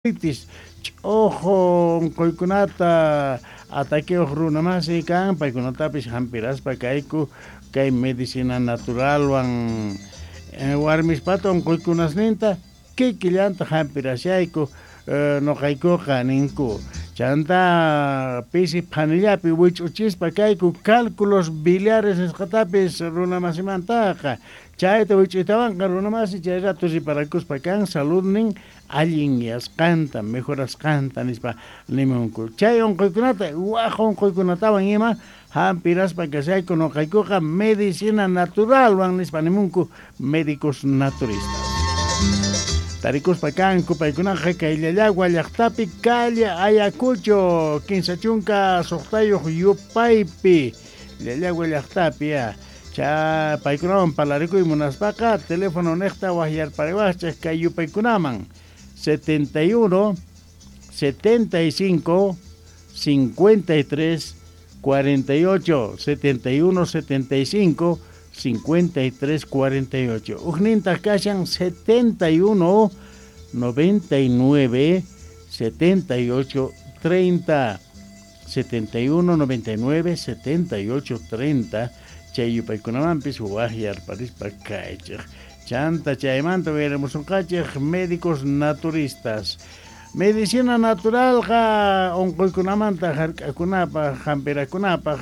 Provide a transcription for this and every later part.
Artritis, ch'ojo onqoykunata ataqueoj runa masi kan, paykunatapis jampiraspa kayku kay medicina naturalwan warmispata onqoykunasninta kikillanta jampirashayku noqaykoqa ninku. Chantá pisi phanillapi wich'uchispa kayku cálculos biliares nisqatapis runa masimantaqa. Chayta wich'uytawanqa runa masi chay rato reparakuspa kan saludnin allinyasqanta, mejorasqanta nispa nimunku. Chay onqoykunata, waj onqoykunatawan ima jampiraspa kashayku noqaykuqa medicina naturalwan nispa nimunku médicos naturistas. Tarikuspa kanku paykunaqa kay Llallagua llaqtapi calle Ayacucho 36 yupaypi Llallagua llaqtapi ya. Cha paykunawan parlarikuy munaspaqa teléfono nejta wajyarpariwajchej kay yupaykunaman 71 75 53 48 71 75 53 48. Ujnintaj kashan 71 99 78 30 71 99 78 30 chay yupaykunamanpis wajyarparispa kaychej. Chanta chaymanta uyarimusunqachej médicos naturistas. Medicina naturalqa onqoykunamanta jark'akunapaj, jampirakunapaj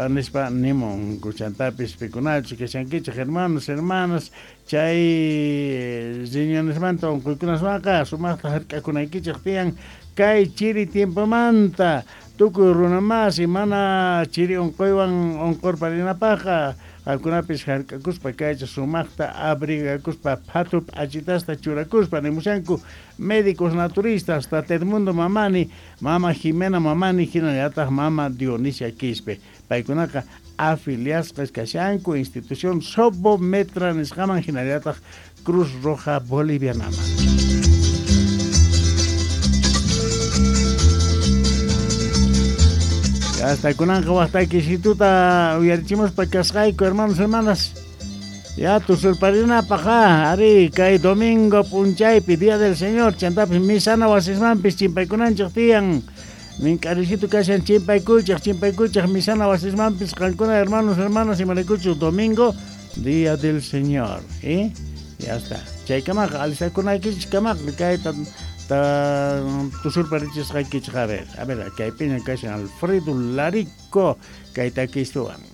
nispa nimunku. Chantapis pikunachus kashankichej hermanos, hermanas, chay riñonesmanta onqoykunaswanqa sumajta jark'akunaykichej tiyan kay chiri tiempomanta tukuy runa masi mana chiri onqoywan onqorparinapajqa qankunapis jark'akuspa kaychej sumajta abrigakuspa phatu p'achitasta churakuspa nimushanku médicos naturistas Tata Edmundo Mamani, mama Jimena Mamani jinallataj mama Dionisia Quispe. Paykunaqa afiliasqas kashanku institución Sobometra nisqaman jinallataj Cruz Roja Bolivianaman. Hasta kunanqa waqtaykisituta uyarichimuspa kasqayku hermanos, hermanas. Ya tusurparinapaj ari kay domingo p'unchaypi Día del Señor chantapis misana wasismanpis chimpaykunanchej tiyan. Mink'arisitu kashan chimpaykuychej, chimpaykuychej misana wasismanpis qankuna hermanos, hermanas imaraykuchus domingo Día del Señor. ¿Eh? Ya está. Chaykamaqa alistakunaykichik kamaqa kayta tusurparichisqaykichik. A ver, a ver, kaypiña kashan Alfredo Larico kay takistuwan.